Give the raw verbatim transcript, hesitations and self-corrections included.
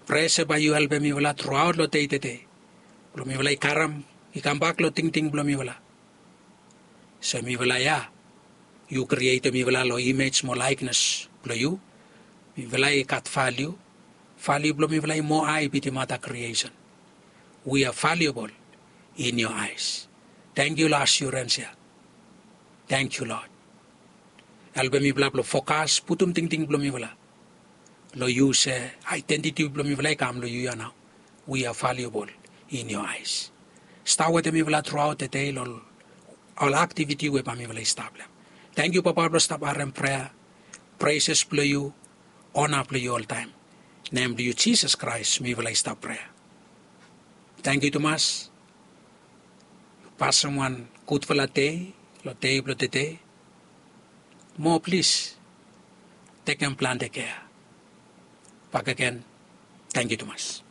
Prea se bae yu helpem mifala truaot long dei tede blong mifala i karem i kambak long tingting blong mifala se mifala ya yu krietem mifala long imej mo laeknes blong yu. Mifala i gat valiu. Valiu blong mifala i moa hae bitim ada kriesen. We are valuable in your eyes. Tangkiu long asurens ya. Tangkiu lod. Helpem mifala blong fokas putum tingting blong mifala long yu se aedentiti blong mifala i kam long yu ya nao. We are valuable in your eyes. Stap wetem mifala truaot dede long ol aktiviti we bae mifala i stap long em. Tangkiu papa blong stap harem prea. Preses blong yu. Ona blong yu oltaem. Nem blong yu jisas kraes mifala i stap prea. Tangkiu tumas. Pasem wan gudfala dei long dei blong tede. Mo plis tekem plante kea. Bakegen. Tangkiu tumas.